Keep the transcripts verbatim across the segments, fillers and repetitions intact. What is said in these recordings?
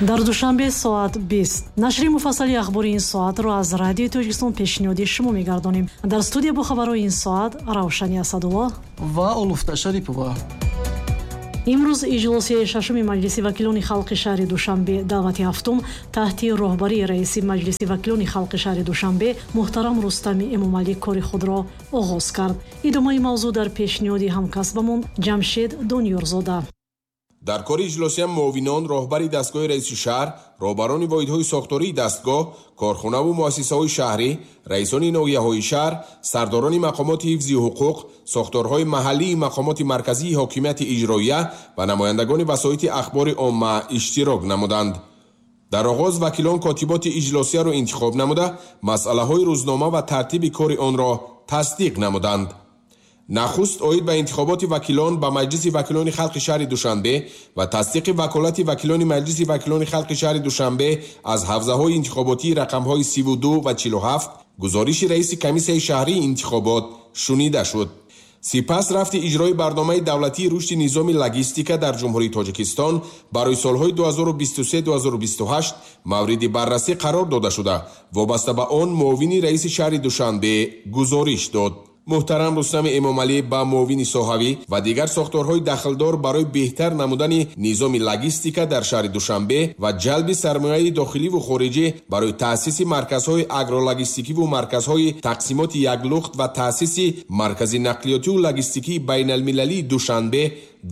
Дар Душанбе соат бист. Нашри муфассали ахбори ин соатро аз Радиои Тоҷикистон пешниҳоди шумо мегардонем. Дар студия бо хабарҳои ин соат Равшани Асадулло ва Олуфта Шарипова. Имрӯз иҷлосияи шашуми Маҷлиси вакилони халқи шаҳри Душанбе даъвати ҳафтум таҳти роҳбарии раиси Маҷлиси вакилони халқи шаҳри Душанбе муҳтарам Рустами Эмомалӣ кори худро оғоз кард. Идомаи мавзӯъ дар пешниҳоди ҳамкасбамон Ҷамшед Дониёрзода. Дар кори иҷлосия муовинон, роҳбари дастгоҳи раиси шаҳр, роҳбарони воҳидҳои сохтории дастгоҳ, корхонаву муассисаҳои шаҳрӣ, раисони ноҳияҳои шаҳр, сардорони мақомоти ҳифзи ҳуқуқ, сохторҳои маҳаллии мақомоти марказии ҳокимияти иҷроия ва намояндагони васоити ахбори омма иштирок намуданд. Дар оғоз вакилон котиботи иҷлосияро интихоб намуда, масъалаҳои рӯзнома ва тартиби кори онро тасдиқ намуданд. Нахуст оид ба интихоботи вакилон ба Маҷлиси вакилони халқи шаҳри Душанбе ва тасдиқи ваколати вакилони Маҷлиси вакилони халқи шаҳри Душанбе аз ҳавзаҳои интихоботии рақамҳои сиву ду ва чилу ҳафт гузориши раиси комиссияи шаҳрии интихобот шунида шуд. Сипас рафти иҷрои барномаи давлатии рушди низоми логистика дар Ҷумҳурии Тоҷикистон барои солҳои ду ҳазору бисту се ду ҳазору бисту ҳашт мавриди баррасӣ қарор дода шуда, вобаста ба он муовини раиси шаҳри Душанбе гузориш дод. Муҳтарам Рустами Эмомалӣ ба муовини соҳавӣ ва дигар сохторҳои дахлдор барои беҳтар намудани низоми логистика дар шаҳри Душанбе ва ҷалби сармояи дохиливу хориҷӣ барои таъсиси марказҳои агрологистикиву марказҳои тақсимоти яклухт ва таъсиси маркази нақлиётиву логистикии байналмилалии Душанбе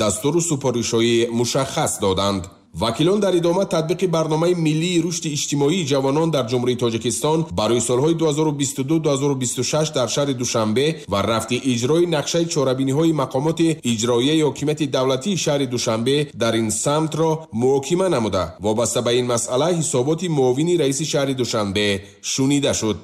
дастуру супоришҳои мушаххас доданд. Вакилон дар идома татбиқи барномаи миллии рушди иҷтимоии ҷавонон дар Ҷумҳурии Тоҷикистон барои солҳои ду ҳазору бисту ду ду ҳазору бисту шаш дар шаҳри Душанбе ва рафти иҷрои нақшаи чорабиниҳои мақомоти иҷроияи ҳокимияти давлатии шаҳри Душанбе дар ин самтро муҳокима намуда, вобаста ба ин масъала ҳисоботи муовини раиси шаҳри Душанбе шунида шуд.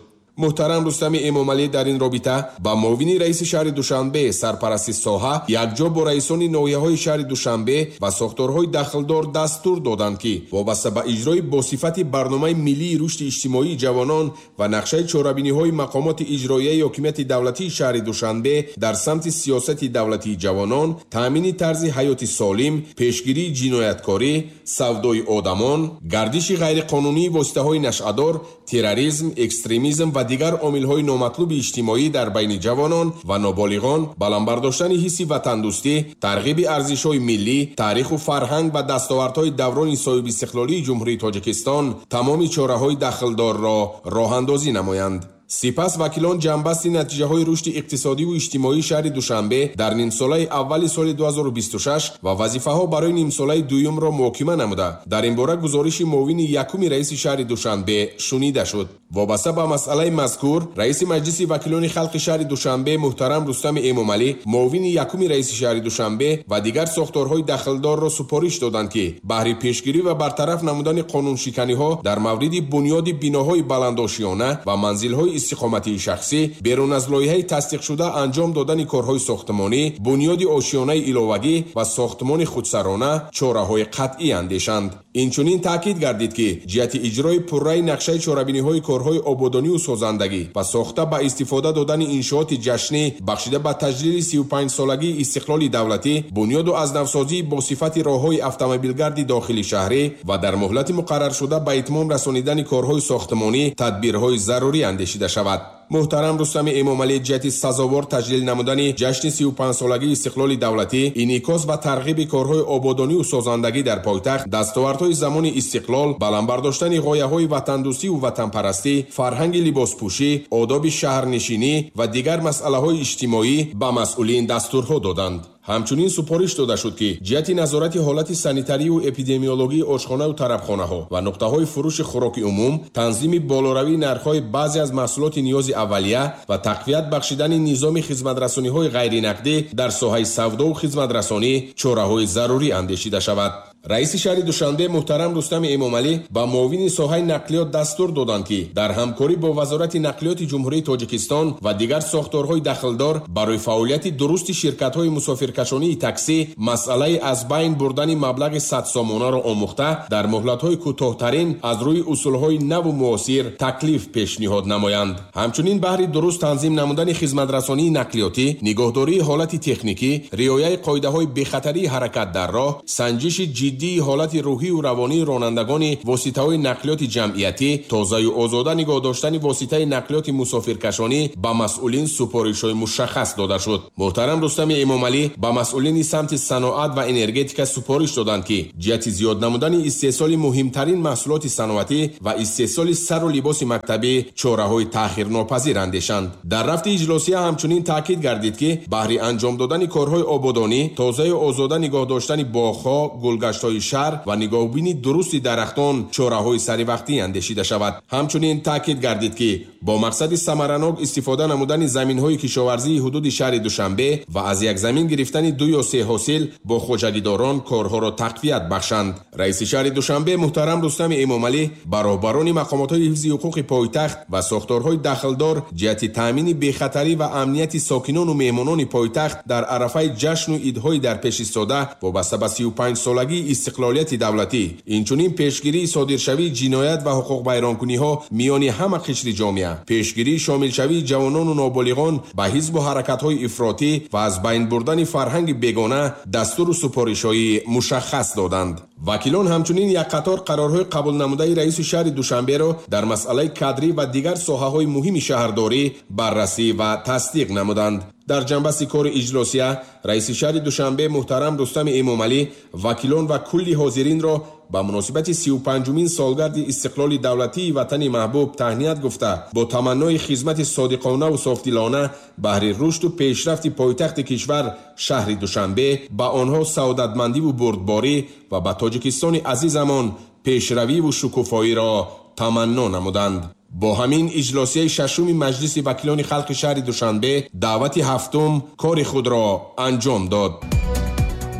Муҳтарам Рустами Эмомалӣ дар ин робита ба муовини раиси шаҳри Душанбе сарпарасти соҳа якҷо бо раисони ноҳияҳои шаҳри Душанбе ва сохторҳои дахлдор дастур доданд, ки вобаста ба иҷрои босифати барномаи миллии рушди иҷтимоии ҷавонон ва нақшаи чорабиниҳои мақомоти иҷроияи ҳокимияти давлатии шаҳри Душанбе дар самти сиёсати давлатии ҷавонон, таъмини тарзи ҳаёти солим, пешгирии ҷинояткорӣ, савдои одамон, гардиши ғайриқонунии воситаҳои нашъадор, терроризм, экстремизм ва дигар омилҳои номатлуби иҷтимоӣ дар байни ҷавонон ва ноболиғон, баланд бардоштани ҳисси ватандӯстӣ, тарғиби арзишҳои миллӣ, таъриху фарҳанг ва дастовардҳои даврони соҳибистиқлолии Ҷумҳурии Тоҷикистон тамоми чораҳои дахлдорро роҳандозӣ намоянд. Сипас вакилон ҷамъбасти натиҷаҳои рушди иқтисодиву иҷтимоии шаҳри Душанбе дар нимсолаи аввали соли ду ҳазору бисту шаш ва вазифаҳо барои нимсолаи дуюмро муҳокима намуда, дар ин бора гузориши муовини якуми раиси шаҳри Душанбе шунида шуд. Вобаста ба масъалаи мазкур раиси Маҷлиси вакилони халқи шаҳри Душанбе муҳтарам Рустами Эмомалӣ муовини якуми раиси шаҳри Душанбе ва дигар сохторҳои дахлдорро супориш доданд, ки баҳри пешгирӣ ва бартараф намудани қонуншиканиҳо дар мавриди бунёди биноҳои баландошиёна ва манзилҳои истиқоматии шахсӣ берун аз лоиҳаи тасдиқшуда анҷом додани корҳои сохтмонӣ, бунёди ошиёнаи иловагӣ ва сохтмони худсарона чораҳои қатъӣ андешанд. Инчунин таъкид гардид, ки ҷиҳати иҷрои пурраи нақшаи чорабиниҳои корҳои ободониву созандагӣ ва сохта ба истифода додани иншооти ҷашнӣ бахшида ба таҷлили сию панҷсолагии истиқлоли давлатӣ, бунёду аз навсозии бо сифати роҳҳои автомобилгарди дохили шаҳрӣ ва дар муҳлати муқарраршуда ба итмом расонидани корҳои сохтмонӣ тадбирҳои зарурӣ андешида шавад. Муҳтарам Рустами Эмомалӣ ҷиҳати сазовор таҷлил намудани ҷашни сию панҷсолагии истиқлоли давлатӣ, инъикос ва тарғиби корҳои ободониву созандагӣ дар пойтахт, дастовардҳои замони истиқлол, баланд бардоштани ғояҳои ватандӯстиву ватанпарастӣ, фарҳанги либоспӯшӣ, одоби шаҳрнишинӣ ва дигар масъалаҳои иҷтимоӣ ба масъулин дастурҳо доданд. Ҳамчунин супориш дода шуд, ки ҷиҳати назорати ҳолати санитарию эпидемиологии ошхонаю тарабхонаҳо ва нуқтаҳои фурӯши хӯроки умум, танзими болоравии нархҳои баъзе аз маҳсулоти ниёзи аввалия ва тақвият бахшидани низоми хизматрасониҳои ғайринақдӣ дар соҳаи савдову хизматрасонӣ чораҳои зарурӣ андешида шавад. Раиси шаҳри Душанбе муҳтарам Рустами Эмомалӣ ба муовини соҳаи нақлиёт дастур доданд, ки дар ҳамкорӣ бо Вазорати нақлиёти Ҷумҳурии Тоҷикистон ва дигар сохторҳои дахлдор барои фаъолияти дурусти ширкатҳои мусофиркашонии таксӣ масъалаи аз байн бурдани маблағи садсомонаро омӯхта, дар муҳлатҳои кӯтоҳтарин аз рӯи усулҳои наву муосир таклиф пешниҳод намоянд. Ҳамчунин баҳри дуруст танзим намудани хизматрасонии нақлиётӣ, нигоҳдории ҳолати техникӣ, риояи қоидаҳои бехатарии ҳаракат дар роҳ, санҷиши ҷиддии ҳолати рӯҳию равонии ронандагони воситаҳои нақлиёти ҷамъиятӣ, тозаю озода нигоҳ доштани воситаи нақлиёти мусофиркашонӣ ба масъулин супоришҳои мушаххас дода шуд. Муҳтарам Рустами Эмомалӣ ба масъулини самти саноат ва энергетика супориш доданд, ки ҷиҳати зиёд намудани истеҳсоли муҳимтарин маҳсулоти саноатӣ ва истеҳсоли сару либоси мактабӣ чораҳои таъхирнопазир андешанд. Дар рафти иҷлосия ҳамчунин таъкид гардид, ки баҳри анҷом додани корҳои ободонӣ, тозаю озода нигоҳ доштани боғҳо, гулгаштҳои шаҳр ва нигоҳубини дурусти дарахтон чораҳои саривақтӣ андешида шавад. Ҳамчунин таъкид гардид, ки бо мақсади самаранок истифода намудани заминҳои кишоварзии ҳудуди шаҳри Душанбе ва аз як замин гирифтани ду ё се ҳосил бо хоҷагидорон корҳоро тақвият бахшанд. Раиси шаҳри Душанбе муҳтарам Рустами Эмомалӣ ба роҳбарони мақомотҳои ҳифзи ҳуқуқи пойтахт ва сохторҳои дахлдор ҷиҳати таъмини бехатарӣ ва амнияти сокинону меҳмонони пойтахт дар арафаи ҷашну идҳои дар пеш истода вобаста ба сию панҷ солагии истиқлолияти давлатӣ, инчунин пешгирии содиршавии ҷиноят ва ҳуқуқвайронкуниҳо миёни ҳама қишри ҷомеа, пешгирии шомилшавии ҷавонону ноболиғон ба ҳизбу ҳаракатҳои ифротӣ ва аз байн бурдани фарҳанги бегона дастуру супоришҳои мушаххас доданд. Вакилон ҳамчунин як қатор қарорҳои қабулнамудаи раиси шаҳри Душанберо дар масъалаи кадрӣ ва дигар соҳаҳои муҳими шаҳрдорӣ баррасӣ ва тасдиқ намуданд. Дар ҷанбасти кори иҷлосия раиси шаҳри Душанбе муҳтарам Рустами Эмомалӣ вакилон ва кулли ҳозиринро ба муносибати сию панҷумин солгарди истиқлоли давлатии ватани маҳбуб таҳният гуфта, бо таманнои хизмати содиқонаву софдилона баҳри рушду пешрафти пойтахти кишвар шаҳри Душанбе ба онҳо саодатмандиву бурдборӣ ва ба Тоҷикистони азизамон пешравиву шукуфоиро таманно намуданд. Бо ҳамин иҷлосияи шашуми Маҷлиси вакилони халқи шаҳри Душанбе даъвати ҳафтум кори худро анҷом дод.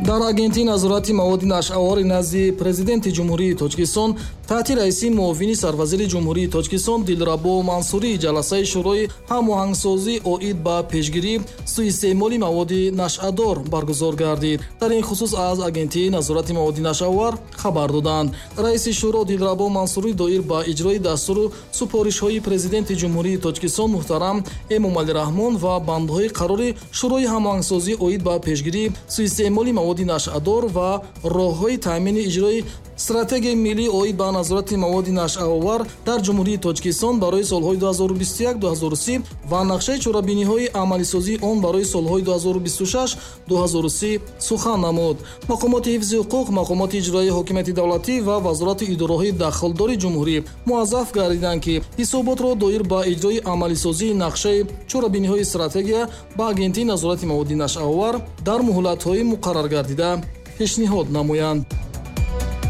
Дар Агентии назорати маводи нашъаовари назди Президенти Ҷумҳурии Тоҷикистон таҳти раиси муовини сарвазири Ҷумҳурии Тоҷикистон Дилрабо Мансурӣ ҷаласаи Шӯрои ҳамоҳангсозӣ оид ба пешгирии суистеъмоли маводи нашъадор баргузор гардид. Дар ин хусус аз Агентии назорати маводи нашъаовар хабар доданд. Раиси шӯро Дилрабо Мансурӣ доир ба иҷрои дастуру супоришҳои Президенти Ҷумҳурии Тоҷикистон муҳтарам Эмомалӣ Раҳмон ва бандҳои қарори Шӯрои ҳамоҳангсозӣ оид ба пешгирии суистеъмоли маводи нашъадор ва роҳҳои таъмини иҷрои стратегияи миллӣ оид ба назорати маводи нашъаовар дар Ҷумҳурии Тоҷикистон барои солҳои ду ҳазору бисту як - ду ҳазору си ва нақшаи чорабиниҳои амалисозии он барои солҳои ду ҳазору бисту шаш - ду ҳазору си сухан намуд. Мақомоти ҳифзи ҳуқуқ, мақомоти иҷроияи ҳокимияти давлатӣ ва вазорати идораҳои дахлдори ҷумҳурӣ муаззаф гардиданд, ки ҳисоботро доир ба иҷрои амалисозии нақшаи чорабиниҳои стратегия ба Агентии назорати маводи нашъаовар дар муҳлатҳои муқарраргардида пешниҳод намоянд.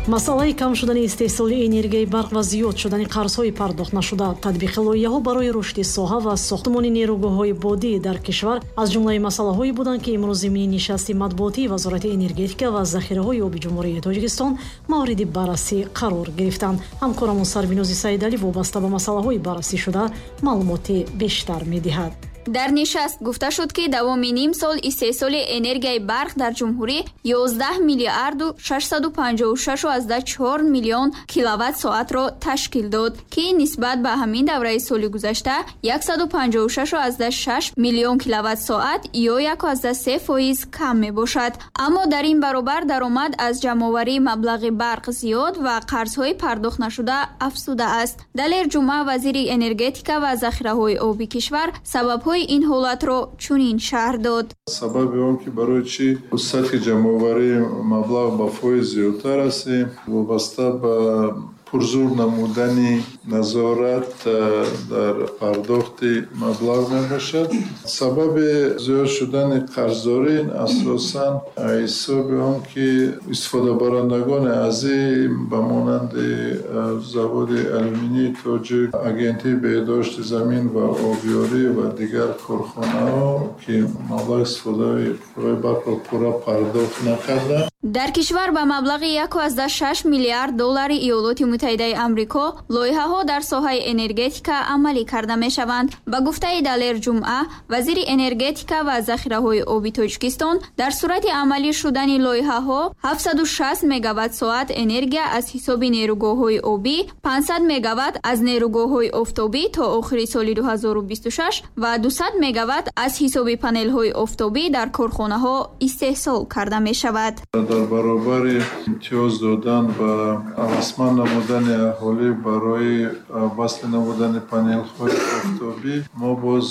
Масъалаи кам шудани истеҳсоли энергияи барқ ва зиёд шудани қарзҳои пардохт нашуда, татбиқи лоиҳаҳо барои рушди соҳа ва сохтмони нерӯгоҳҳои бодӣ дар кишвар аз ҷумлаи масъалаҳое буданд, ки имрӯз зимни нишасти матбуотии Вазорати энергетика ва захираҳои оби Ҷумҳурии Тоҷикистон мавриди баррасӣ қарор гирифтанд. Ҳамкорамон Сарвинози Саидалӣ вобаста ба масъалаҳои баррасӣ шуда маълумоти бештар медиҳад. Дар нишаст гуфта шуд, ки давоми ним сол истеҳсоли энергияи барқ дар ҷумҳурӣ ёздаҳ миллиарду шашсаду панҷоҳу шашу аздаҳ чор миллион киловатт-соатро ташкил дод, ки нисбат ба ҳамин давраи соли гузашта яксаду панҷоҳу шашу аздаҳ шаш миллион киловатт-соат ё яку аздаҳ се фоиз кам мебошад. Аммо дар ин баробар даромад аз ҷамъоварии маблағи барқ зиёд ва қарзҳои пардохт нашуда афзудааст. Далер Ҷумъа, вазири энергетика ва захираҳои оби кишвар, сабабҳои ин ҳолатро чунин шарҳ дод. Сабаби он ки барои чӣ сатҳи ҷамъоварии маблағ ба фоиз зиёдтар аст, вобаста ба пурзур намудани назорат дар пардохти маблағ мебошад. Сабаби зиёд шудани қарздорӣ асосан ҳисоби он ки истифодабарандагони азим ба монанди заводи алюминии тоҷик, агентии беҳдошти замин ва обёрӣ ва дигар корхонаҳо ки маблағи истифодаи қувваи барқро пурра пардохт накарданд. Дар кишвар ба маблағи як ва шаш миллиард доллари Иёлоти Муттаҳидаи Амрико лоиҳаҳо дар соҳаи энергетика амалӣ карда мешаванд. Ба гуфтаи Далер Ҷумъа, вазири энергетика ва захираҳои оби Тоҷикистон, дар сурати амалӣ шудани лоиҳаҳо ҳафтсаду шаст мегаватт соат энергия аз ҳисоби нерӯгоҳҳои обӣ, панҷсад мегаватт аз нерӯгоҳҳои офтобӣ то охири соли ду ҳазору бисту шаш ва дусад мегаватт аз ҳисоби панелҳои офтобӣ дар корхонаҳо истеҳсол карда мешавад. Дар баробари имтиёз додан ва ҳавасманд намудани аҳолӣ барои васл намудани панелҳои офтобӣ, мо боз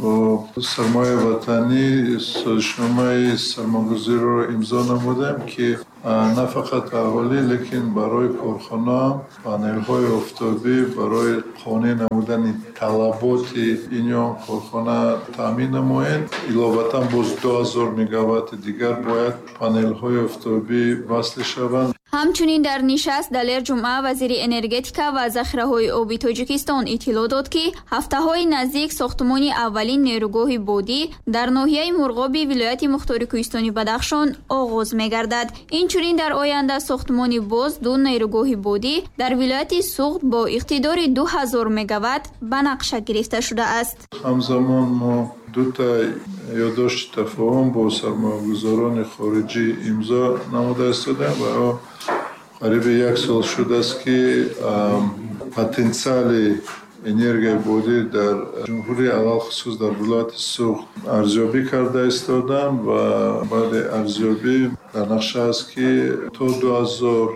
бо сармояи ватанӣ созишномаи сармоягузориро имзо намудем, ки на фақат аҳолӣ, лекин барои корхона панелҳои офтобӣ барои қонеъ намудани талаботи ин ё он корхона таъмин намоянд. Иловатан боз ду ҳазор мегаватти дигар бояд панелҳои офтобӣ васл шаванд. Ҳамчунин дар нишаст Далер Ҷумъа, вазири энергетика ва захираҳои оби Тоҷикистон иттилоъ дод, ки ҳафтаҳои наздик сохтмони аввалин нерӯгоҳи бодӣ дар ноҳияи Мурғоби вилояти Мухтори Кӯҳистони Бадахшон оғоз мегардад. Инчунин дар оянда сохтмони боз ду нерӯгоҳи бодӣ дар вилояти Суғд бо иқтидори ду ҳазор мегаватт ба нақша гирифта шудааст. Ҳамзамон мо дута ёддошти тафоҳум бо сармоягузорони хориҷӣ имзо намуда истодаем ва қариби як сол шудааст, ки потенсиали энергияи бодӣ дар ҷумҳурӣ, алалхусус дар вилояти Суғд арзёбӣ карда истоданд ва баъди арзёбӣ дар нақша аст, ки то ду ҳазор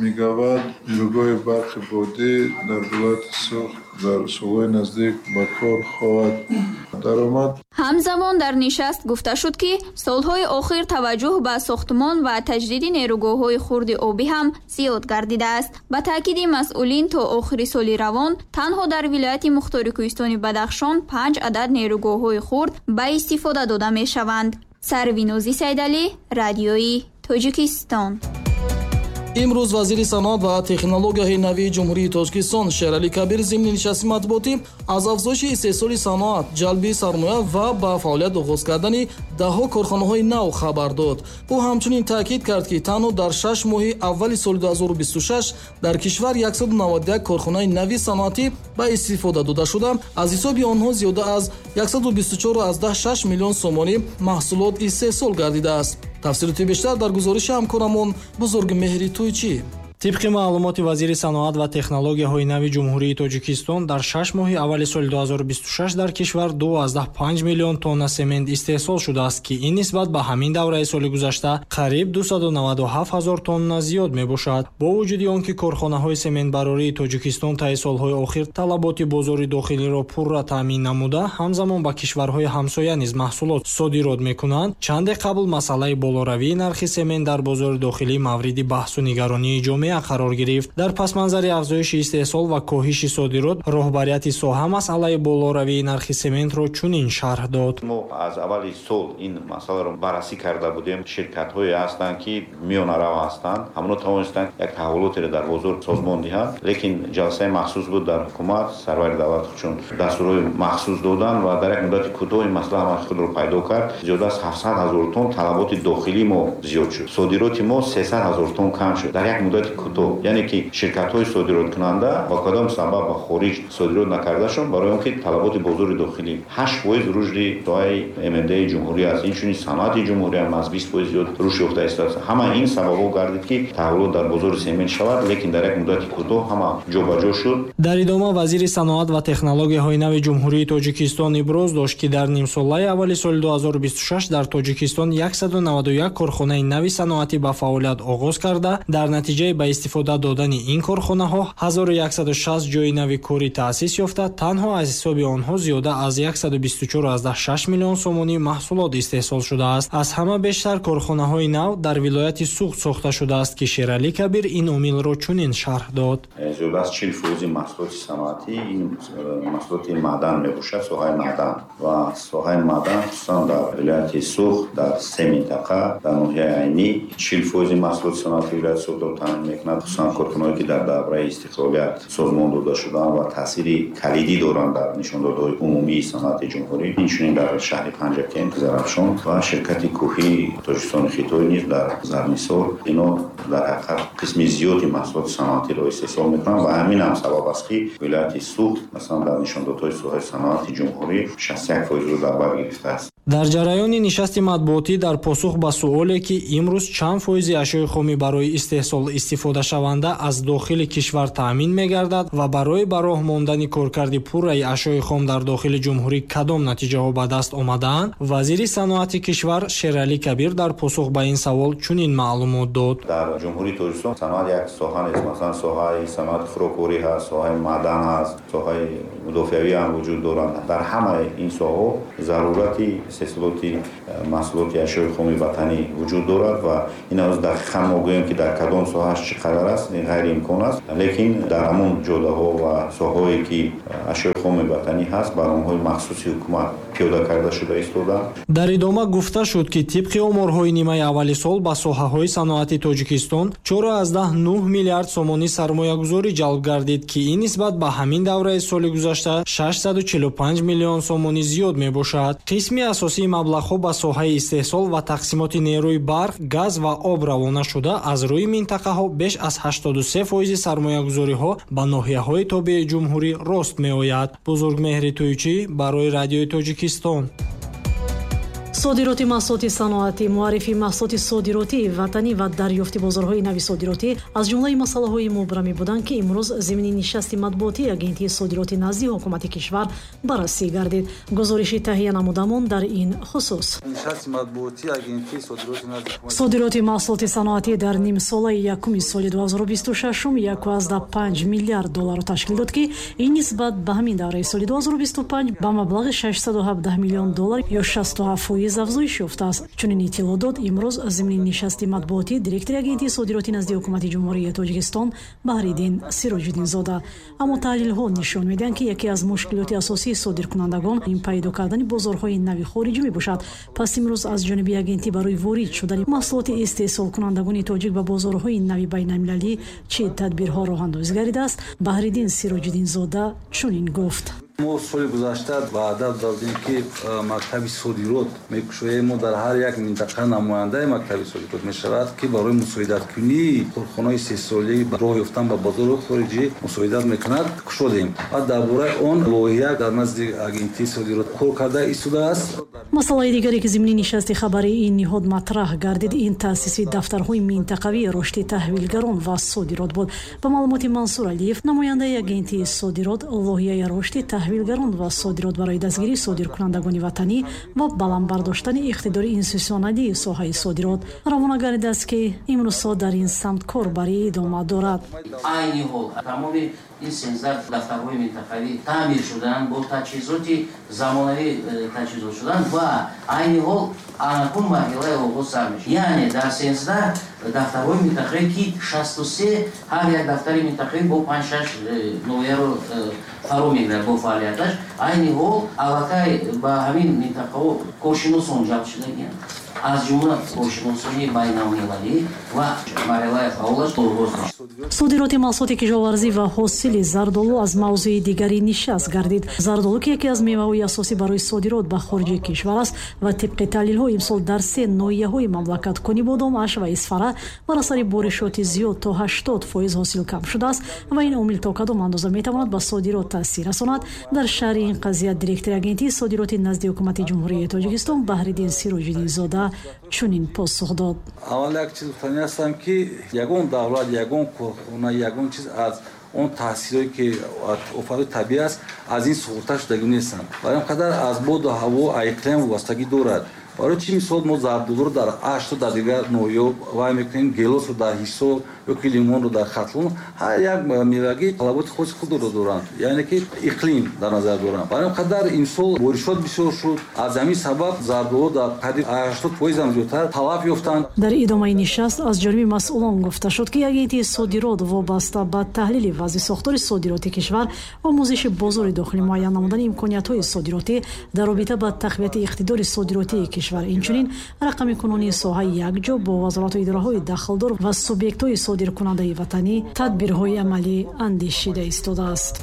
мегаватт нерӯгоҳи барқи бодӣ дар вилояти Суғд дар солҳои наздик ба кор хоҳад даромад. Ҳамзамон дар нишаст гуфта шуд, ки солҳои охир таваҷҷӯҳ ба сохтмон ва таҷдиди нерӯгоҳҳои хурди обӣ ҳам зиёд гардидааст. Ба таъкиди масъулин, то охири соли равон танҳо дар вилояти Мухтори Кӯҳистони Бадахшон панҷ адад нерӯгоҳҳои хурд ба истифода дода мешаванд. Сарвинози Сайдалӣ, Радиои Тоҷикистон. Имрӯз вазири саноат ва технологияҳои нави Ҷумҳурии Тоҷикистон Шералӣ Кабир зимни нишасти матбуотӣ аз афзоиши истеҳсоли саноат, ҷалби сармоя ва ба фаъолият оғоз кардани даҳҳо корхонаҳои нав хабар дод. Ӯ ҳамчунин таъкид кард, ки танҳо дар шаш моҳи аввали соли ду ҳазору бисту шаш дар кишвар яксаду наваду як корхонаи нави саноатӣ ба истифода дода шуда, аз ҳисоби онҳо зиёда аз яксаду бисту чор аз даҳ шаш миллион сомонӣ маҳсулот истеҳсол гардидааст. Тафсилоти бештар дар гузориши ҳамкорамон Бузургмеҳри Тӯйчӣ. Тибқи маълумоти вазири саноат ва технологияҳои нави Ҷумҳурии Тоҷикистон, дар шаш моҳи аввали соли ду ҳазору бисту шаш дар кишвар ду аз даҳ панҷ миллион тонна семент истеҳсол шудааст, ки ин нисбат ба ҳамин давраи соли гузашта қариб дусаду наваду ҳафт ҳазор тонна зиёд мебошад. Бо вуҷуди он ки корхонаҳои сементбарории Тоҷикистон таи солҳои охир талаботи бозори дохилиро пурра таъмин намуда, ҳамзамон ба кишварҳои ҳамсоя низ маҳсулот содирот мекунанд, чанде қабл масъалаи болоравии нархи семент дар бозори дохилӣ мавриди баҳсу нигаронии ҷомеа қарор гирифт. Дар пасманзари афзоиши истеҳсол ва коҳиши содирот, роҳбарияти соҳа масъалаи болоравии нархи сементро чунин шарҳ дод. Мо аз аввали сол ин масъаларо баррасӣ карда будем. Ширкатҳое ҳастанд, ки миёнарав ҳастанд, ҳамонҳо тавонистанд як таҳаввулотеро дар бозор созмон диҳанд, лекин ҷаласаи махсус буд дар ҳукумат, сарвари давлат чун дастурҳои махсус доданд ва дар як муддати кӯтоҳ ин масъала ҳама худро пайдо кард. Зиёда аз ҳафтсад ҳазор тонн талаботи дохилии мо зиёд шуд, содироти мо сесад ҳазор тонн кам шуд дар як муддати кӯтоҳ. Яъне ки ширкатҳои содироткунанда ба кадом сабаб ба хориҷ содирот накардашон, барои он ки талаботи бозори дохилӣ ҳашт фоиз рушди соҳаи эм эм ди ҷумҳурӣ аст, инчунин саноати ҷумҳурӣ ҳам аз бист фоиз зиёд рушд ёфта истодааст. Ҳама ин сабабҳо гардид, ки таҳаввулот дар бозори семент шавад, лекин дар як муддати кӯтоҳ ҳама ҷобаҷо шуд. Дар идома вазири саноат ва технологияҳои нави Ҷумҳурии Тоҷикистон иброз дошт, ки дар нимсолаи аввали соли ду ҳазору бисту шаш дар Тоҷикистон яксаду наваду як корхонаи нави саноатӣ ба фаъолият оғоз карда, дар натиҷаи ба ба истифода додани ин корхонаҳо ҳазору яксаду шаст ҷойи нави корӣ таъсис ёфта, танҳо аз ҳисоби онҳо зиёда аз яксаду бисту чор аз даҳ шаш миллион сомонӣ маҳсулот истеҳсол шудааст. Аз ҳама бештар корхонаҳои нав дар вилояти Суғд сохта шудааст, ки Шералӣ Кабир ин омилро чунин шарҳ дод. Зиёда аз чил фоизи маҳсулоти саноатӣ ин маҳсулоти маъдан мебошад, соҳаи маъдан. Ва соҳаи маъдан хусусан дар вилояти Суғд дар се минтақа, дар ноҳияи Айнӣ чил фоизи маҳсулоти саноатии вилояти Суғдро таъмин мекунад, хусусан корхонаҳое ки дар давраи истиқлолият созмон дода шуданд ва таъсири калидӣ доранд дар нишондодҳои умумии саноати ҷумҳурӣ. Инчунин дар шаҳри Панҷакент, Зарафшон ва ширкати кӯҳии Тоҷикистони Хитой низ дар Зарнисор. Ино дар ҳақиқат қисми зиёди маҳсулоти саноатиро истеҳсол мекунанд ва ҳамин ҳам сабаб аст, ки вилояти Суғд масалан дар нишондодҳои соҳаи саноати ҷумҳурӣ шасту як фоизро дар бар гирифтааст. Дар ҷараёни нишасти матбуотӣ дар посух ба суоле, ки имрӯз чанд фоизи ашёи хомӣ барои истеҳсол истифодашаванда аз дохили кишвар таъмин мегардад ва барои ба роҳ мондани коркарди пурраи ашёи хом дар дохили ҷумҳурӣ кадом натиҷаҳо ба даст омадаанд, вазири саноати кишвар Шералӣ Кабир дар посух ба ин савол чунин маълумот дод. Дар ҷумҳурии Тоҷикистон саноат як соҳа нест. Масалан, соҳаи саноати хӯрокворӣ ҳаст, соҳаи маъдан ҳаст, соҳаи мудофиавӣ ҳам вуҷуд доранд. Дар ҳамаи ин соҳаҳо зарурати истеҳсолоти маҳсулоти ашёи хоми ватанӣ вуҷуд дорад ва ин ҳанӯз дақиқан мо гӯем, ки дар кадом соҳааш чӣ қадар аст, ин ғайриимкон аст. Лекин дар ҳамон ҷодаҳо ва соҳаҳое ки ашёи хоми ватанӣ ҳаст, барномаҳои махсуси ҳукумат пиёда карда шуда истодаанд. Дар идома гуфта шуд, ки тибқи оморҳои нимаи аввали сол ба соҳаҳои саноати Тоҷикистон чор аз даҳ нӯҳ миллиард сомонӣ сармоягузорӣ ҷалб гардид, ки ин нисбат ба ҳамин давраи соли гузашта шашсаду чилу панҷ миллион сомонӣ зиёд мебошад. Қисми асосии маблағҳо ба соҳаи истеҳсол ва тақсимоти нерӯи барқ, газ ва об равона шуда, аз рӯи минтақаҳо беш аз ҳаштоду се фоизи сармоягузориҳо ба ноҳияҳои тобеи ҷумҳурӣ рост меояд. Бузургмеҳри Тӯйчӣ барои Радиои Тоҷикистон. Содироти маҳсулоти саноатӣ, муаррифии маҳсулоти содиротии ватанӣ ва дарёфти бозорҳои нави содиротӣ аз ҷумлаи масъалаҳои мубрамӣ буданд, ки имрӯз зимни нишасти матбуотии агентии содироти назди ҳукумати кишвар баррасӣ гардид. Гузориши таҳия намудамон дар ин хусус. Нишасти матбуотии агентии содироти назди содироти маҳсулоти саноатӣ дар нимсолаи якуми соли ду ҳазору бисту шашум яку аз даҳ панҷ миллиард долларро ташкил дод, ки ин нисбат ба ҳамин давраи соли ду ҳазору бисту панҷ ба маблағи шашсаду ҳабдаҳ миллион доллар ё шасту ҳафт фоиз афзоиш ёфтааст. Чунин иттилоъ дод имрӯз зимни нишасти матбуотӣ директори агентии содироти назди ҳукумати ҷумҳурии Тоҷикистон Баҳриддин Сироҷиддинзода. Аммо таҳлилҳо нишон медиҳанд, ки яке аз мушкилоти асосии содиркунандагон ин пайдо кардани бозорҳои нави хориҷӣ мебошад. Пас имрӯз аз ҷониби агентӣ барои ворид шудани маҳсулоти истеҳсолкунандагони тоҷик ба бозорҳои нави байналмилалӣ чӣ тадбирҳо роҳандозӣ гардидааст, Баҳриддин Сироҷиддинзода чунин гуфт. Мо соли гузашта ваъда додем, ки мактаби содирот мекушоем. Мо дар ҳар як минтақа намояндаи мактаби содирот мешавад, ки барои мусоидаткунии корхонаҳои истеҳсолӣ роҳ ёфтан ба бозорҳои хориҷӣ мусоидат мекунад. Кушодем ва дар бораи он лоиҳа дар назди агентии содирот кор карда истодааст. Масъалаи дигаре, ки зимни нишасти хабарии ин ниҳод матраҳ гардид, ин таъсиси дафтарҳои минтақавии рушди таҳвилгарон ва содирот буд. Ба маълумоти Мансур Алиев, намояндаи агентии содирот, лоиҳаи рушди таҳвилгарон ва содирот барои дастгирии содиркунандагони ватанӣ ва баланд бардоштани иқтидори институтсионалии соҳаи содирот равона гардидааст, ки имрӯзҳо дар ин самт корбарӣ идома дорад. Айни ҳол тамоми ин сенздаҳ дафтарҳои минтақавӣ таъмир шуданд, бо таҷҳизоти замонавӣ таҷҳизот шуданд ва айни ҳол анакун марҳилаи оғоз сар мешавад. Яъне дар сенздаҳ дафтарҳои минтақавӣ, ки шасту се ҳар як дафтари минтақавӣ бо панҷ-шаш ноҳияро фаро мегирад бо фаъолияташ, айни ҳол аллакай ба ҳамин минтақаҳо коршиносон ҷалб шудагианд, аз ҷумла коршиносони байналмилалӣ ва марҳилаи фаъолаш оғоз мешавад. Содироти маҳсулоти кишоварзӣ ва ҳосили зардолу аз мавзӯи дигари нишаст гардид. Зардолу, ки яке аз меваҳои асосӣ барои содирот ба хориҷи кишвар аст ва тибқи таҳлилҳо имсол дар се ноҳияҳои мамлакат Конибодом, Аш ва Исфара бар асари боришоти зиёд то ҳаштод фоиз ҳосил кам шудааст ва ин омил то кадом андоза метавонад ба содирот таъсир расонад. Дар шарҳи ин қазия директори агентии содироти назди ҳукумати ҷумҳурии Тоҷикистон Баҳриддин Сироҷиддинзода чунин посух дод. Аввал як чиз гуфтанӣ ҳастам, ки ягон давлат, ягон корхона, ягон чиз аз он таъсирое ки офатҳои табиӣ аст, аз ин суғурта шудагӣ нестанд. Барои ин қадар аз боду ҳаво, иқлим вобастагӣ дорад. Барои чӣ мисол мо зардолуро дар Ашту, дар дигар ноҳияҳо вай мекунем, гелосро дар Ҳисор ё ки лимонро дар Хатлон. Ҳар як мевагӣ талаботи хоси худро доранд, яъне ки иқлим дар назар доранд. Барои ин қадар имсол боришот бисёр шуд, аз ҳамин сабаб зардолу дар қариб ҳаштод фоизам зиёдтар талаф ёфтанд. Дар идомаи нишаст аз ҷониби масъулон гуфта шуд, ки агентии содирот вобаста ба таҳлили вазъи сохтори содироти кишвар, омӯзиши бозори дохилӣ, муайян намудани имкониятҳои содиротӣ дар робита ба тақвияти иқтидори содиротии кишвар, инчунин рақамикунонии соҳаи якҷо бо вазорату идораҳои дахлдор ва субъектҳои содиркунандаи ватанӣ тадбирҳои амалӣ андешида истодааст.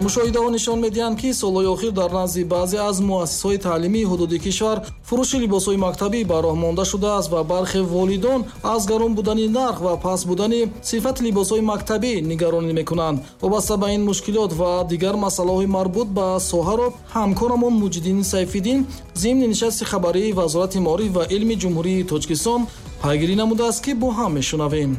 Мушоҳидаҳо нишон медиҳанд, ки солҳои охир дар назди баъзе аз муассисаҳои таълимии ҳудуди кишвар фурӯши либосҳои мактабӣ ба роҳ монда шудааст ва бархе волидон аз гарон будани нарх ва паст будани сифати либосҳои мактабӣ нигаронӣ мекунанд. Вобаста ба ин мушкилот ва дигар масъалаҳои марбут ба соҳаро ҳамкорамон Муҷиддин Сайфиддин зимни нишасти хабарии Вазорати маориф ва илми Ҷумҳурии Тоҷикистон пайгирӣ намудааст, ки бо ҳам мешунавем.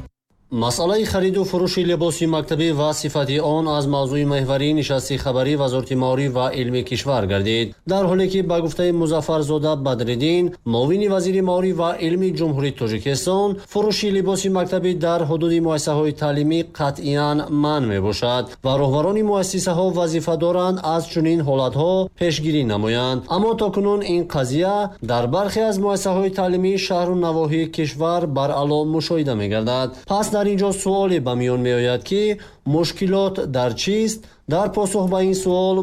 Масъалаи хариду фурӯши либоси мактабӣ ва сифати он аз мавзӯи меҳварии нишасти хабарии Вазорати маориф ва илми кишвар гардид. Дар ҳоле ки ба гуфтаи Музаффарзода Бадриддин, муовини вазири маориф ва илми Ҷумҳурии Тоҷикистон, фурӯши либоси мактабӣ дар ҳудуди муассисаҳои таълимӣ қатъиян манъ мебошад ва роҳбарони муассисаҳо вазифа доранд аз чунин ҳолатҳо пешгирӣ намоянд. Аммо то кунун ин қазия дар бархе аз муассисаҳои таълимии шаҳру навоҳии кишвар баръало мушоҳида мегардад. Пас дар ин ҷо суоле ба миён меояд, ки мушкилот дар чист? Дар посух ба ин суол